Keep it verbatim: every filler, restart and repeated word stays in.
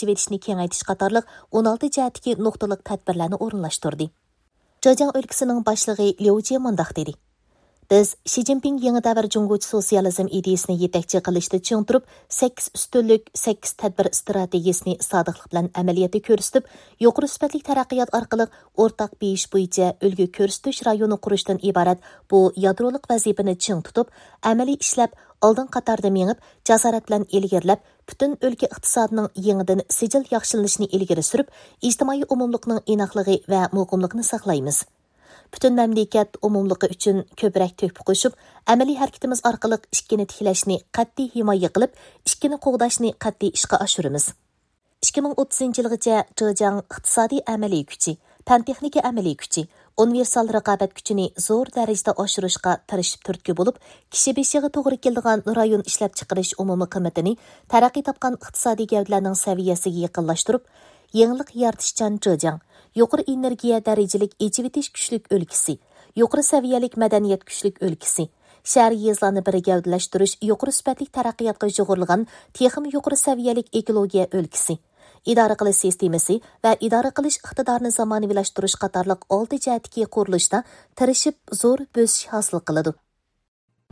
ئېچىۋېتىشنى كېڭەيتىش قاتارلىق ئون ئالتە جەھەتتىكى نۇقتىلىق تەدبىرلەرنى ئورۇنلاشتۇردى. جېجياڭ ئۆلكىسىنىڭ باشلىقى ليۇ جيې مۇنداق دېدى: بىز شى جىنپىڭ يېڭى دەۋر جۇڭگوچە سوتسىيالىزم ئىدىيىسىنى يېتەكچى قىلىشتا چىڭ تۇرۇپ، سەككىز ئۈستۈنلۈك، سەككىز تەدبىر ئىستراتېگىيىسىنى سادىقلىق بىلەن ئەمەلىيەتتە كۆرسىتىپ، يۇقىرى سۈپەتلىك تەرەققىيات ئارقىلىق ئورتاق بېيىش بويىچە ئۈلگە كۆرسىتىش رايونى قۇرۇشتىن ئىبارەت بۇ يادرولۇق ۋەزىپىنى چىڭ تۇتۇپ، ئەمەلىي ئىشلەپ، ئالدىنقى قاتاردا مېڭىپ، جاسارەت بىلەن ئىلگىرىلەپ، پۈتۈن ئۆلكە ئىقتىسادىنىڭ يېڭىدىن سىجىل ياخشىلىنىشىنى ئىلگىرى سۈرۈپ، ئىجتىمائىي ئومۇملۇقنىڭ ئىناقلىقى ۋە مۇقىملىقىنى ساقلايمىز. پۈتۈن مەملىكەت ئومۇملۇقى ئۈچۈن كۆپرەك تۆھپە قوشۇپ، ئەمەلىي ھەرىكىتىمىز ئارقىلىق ئىككىنى تىكلەشنى قەتئىي ھىمايە قىلىپ، ئىككىنى قوغداشنى قەتئىي ئىشقا ئاشۇرىمىز. ئىككى مىڭ ئوتتۇزىنچى يىلغىچە جېجياڭ ئىقتىسادىي ئەمەلىي كۈچى، پەن تېخنىكا ئەمەلىي كۈچى، ئۇنىۋېرسال رىقابەت كۈچىنى زور دەرىجىدە ئاشۇرۇشقا تىرىشىپ تۈرتكە بولۇپ، كىشى بېشىغا توغرا كېلىدىغان رايون ئىشلەپچىقىرىش ئومۇمىي قىممىتىنى تەرەققىي تاپقان ئىقتىسادىي گەۋدىلەرنىڭ سەۋىيەسىگە يېقىنلاشتۇرۇپ، يېڭىلىق يارىتىشچان جېجياڭ، يۇقىرى ئېنېرگىيە دەرىجىلىك ئېچىۋېتىش كۈچلۈك ئۆلكىسى، يۇقىرى سەۋىيەلىك مەدەنىيەت كۈچلۈك ئۆلكىسى، شەھەر، يېزىلارنى بىر گەۋدىلەشتۈرۈش يۇقىرى سۈپەتلىك تەرەققىياتقا يۇغۇرۇلغان تېخىمۇ يۇقىرى سەۋىيەلىك ئېكولوگىيە ئۆلكىسى، ئىدارە قىلىش سىستېمىسى ۋە ئىدارە قىلىش ئىقتىدارىنى زامانىۋىلاشتۇرۇش قاتارلىق ئالتە جەھەتتىكى قۇرۇلۇشتا تىرىشىپ زور بۆسۈش ھاسىل قىلىدۇ.